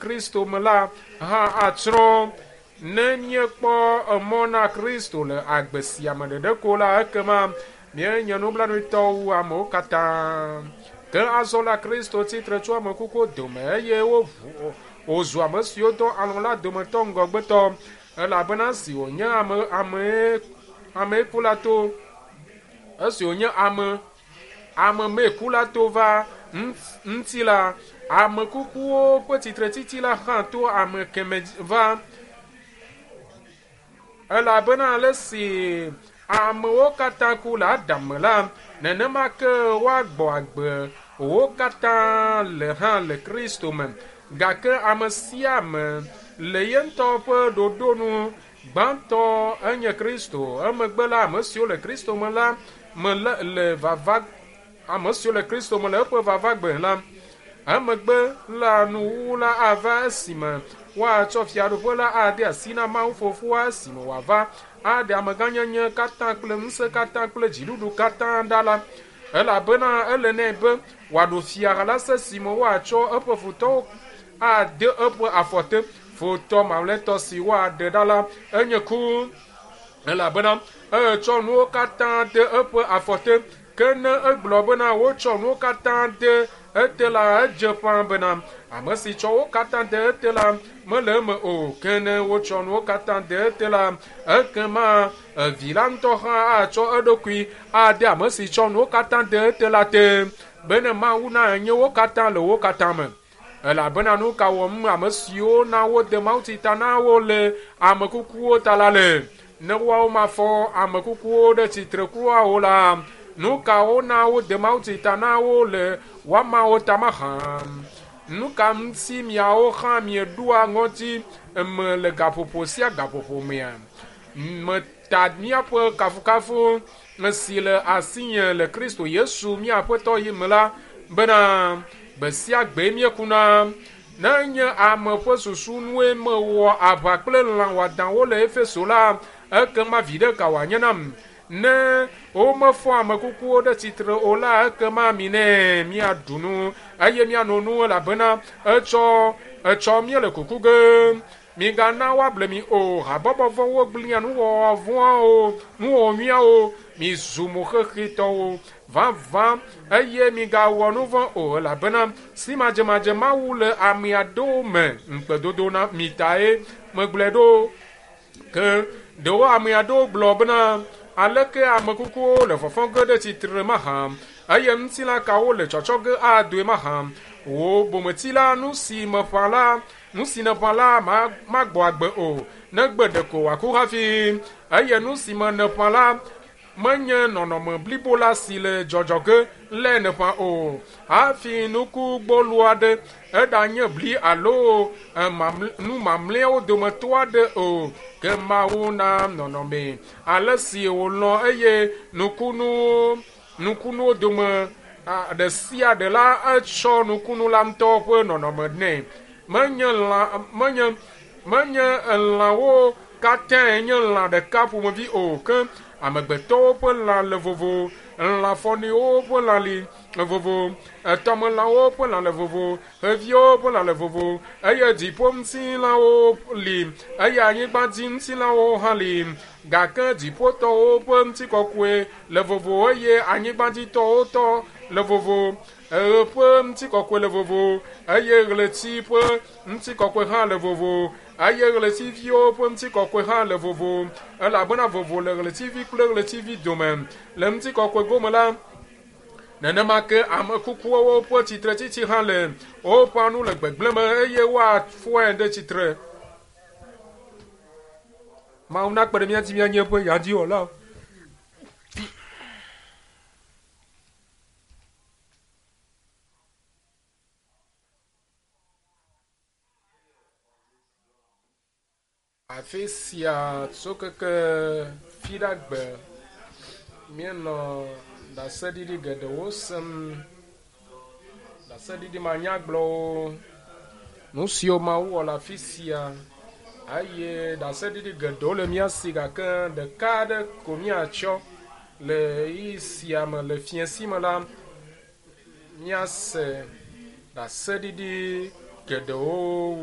Kristo me la hã atsrɔ̃. Ne míekpɔ emɔ na Kristo le agbe sia me ɖeɖe ko la, ekema míenye nublanuitɔwo wu amewo katã. Ke azɔ la Kristo tsitre tso ame kukuwo dome eye woʋu wòzu ame siwo dɔ alɔ̃ la dometɔ ŋgɔgbetɔ elabena si wònye ame amee amee ku la to esi wònye ame ame mee ku la to va ŋuti la ame kukuwo ƒe tsitretsitsi la hã to ame keme va elabena ale si amewo katã ku le Adam me la nenema ke woagbɔ agbe wo katã le hã le Kristo me gake ame sia ame le ye ŋutɔ ƒe ɖoɖo nu gbãtɔ enye Kristo emegbe la ame siwo le Kristo me la me le le vava ame siwo le Kristo me le eƒe vavagbe la emegbe la nuwuwu la ava esime woatsɔ fiaɖuƒe la ade asi na Mawu fofoa esime wòava aɖe amegãnyenye katã kple ŋusẽ katã kple dziɖuɖu katã ɖa la elabena ele nɛ be wòaɖu fia la se si me woatsɔ eƒe futɔwo ade eƒe afɔ te futɔ mamlɛtɔ si woaɖe ɖa la enye ku elabena etsɔ nuwo katã de eƒe afɔ te ke ne egblɔ bena wotsɔ nuwo katã de ete la edze ƒã bena ame si tsɔ wo katã de ete la mele eme o ke ne wotsɔ nuwo katã de ete la ekema vi la ŋutɔ hã atsɔ eɖokui ade ame si tsɔ nuwo katã de ete la te bene Mawu nanye wo katã le wo katã me. Elabena nu ka wɔm ame siwo na wode mawutsi ta na wo le ame kukuwo ta la le? Ne woawo mafɔ ame kukuwo ɖe tsitre kura o la, nu kawo na wode mawutsi ta na wo le woamawo ta mahã? Nu ka ŋuti miawo hã mieɖoa ŋɔti me le gaƒoƒo sia gaƒoƒo mea? Meta míaƒe kafukafu si le asinye le Kristo Yesu mía Aƒetɔ yi me la bena gbe sia gbe míekuna. Ne nye ame ƒe susu nue mewɔ aʋa kple lã wɔadãwo le Efeso la, ekema viɖe ka wòanye nam? Ne womefɔ ame kukuwo ɖe tsitre o la, ekema minɛ míaɖu nu eye míano nu elabena etsɔ etsɔ míele kuku ge. Migana woable mi o, habɔbɔ vɔ̃wo gblẽa nuwɔwɔ vɔ̃awo, nuwɔwɔ nyuiawo, mizu moxexetɔwo vavã eye migawɔ nu vɔ̃ o elabena si madzemadze Mawu le ame aɖewo me ŋukpedodo na mi tae megblɔe ɖo. Ke ɖewo ame aɖewo gblɔ bena aleke ame kukuwo le fɔfɔ ge ɖe tsitre mahã eye ŋutilã kawo le tsɔtsɔ ge adoe mahã. Wò bometsi la nu si meƒã la nu si nèƒã la magbɔ agbe o negbe ɖeko wòaku hafi eye nu si me nèƒã la menye nɔnɔme blibo la si le dzɔdzɔ ge lé nèƒã o hafi nuku gbɔlo aɖe eɖanye bli alo nu mamlɛawo dometɔ aɖe o ke Mawu na nɔnɔme ale si wòlɔ̃ eye nukunuwo nukunuwo dome ɖe sia ɖe la etsɔ nukunu la ŋutɔ ƒe nɔnɔme nɛ. Menye lã menye menye lãwo katãe nye lã ɖeka ƒomevi o ke amegbetɔwo ƒe lã le vovo, lãfɔniwo ƒe lã li vovo, tɔmelãwo ƒe lã le vovo, xeviwo ƒe lã le vovo eye dziƒoŋutilãwo li eye anyigbadziŋutilãwo hã li gake dziƒotɔwo ƒe ŋutikɔkɔe le vovo eye anyigbadzitɔwo tɔ le vovo. Ɣe ƒe ŋutikɔkɔe le vovo eye ɣleti ƒe ŋutikɔkɔe hã le vovo eye ɣletiviwo ƒe ŋutikɔkɔe hã le vovo elabena vovo le ɣletivi kple ɣletivi dome. Le ŋutikɔkɔe gome la, nenema ke ame kukuwo ƒe tsitretsitsi hã le woƒã nu le gbegblẽ me eye woafɔe ɖe tsitre. Mawu nakpe ɖe mía ŋuti míanye eƒe nyadziwɔlawo. Afi sia tso keke Fiɖagbe míenɔ ɖaseɖiɖi geɖewo sem. Ɖaseɖiɖi manyagblɔwo, nu siwo Mawu wɔ le afi sia eye ɖaseɖiɖi geɖewo le mía si gake ɖeka aɖe ko míatsɔ le ɣeyiɣi sia me le fiẽsi me la, míase ɖaseɖiɖi geɖewo wu.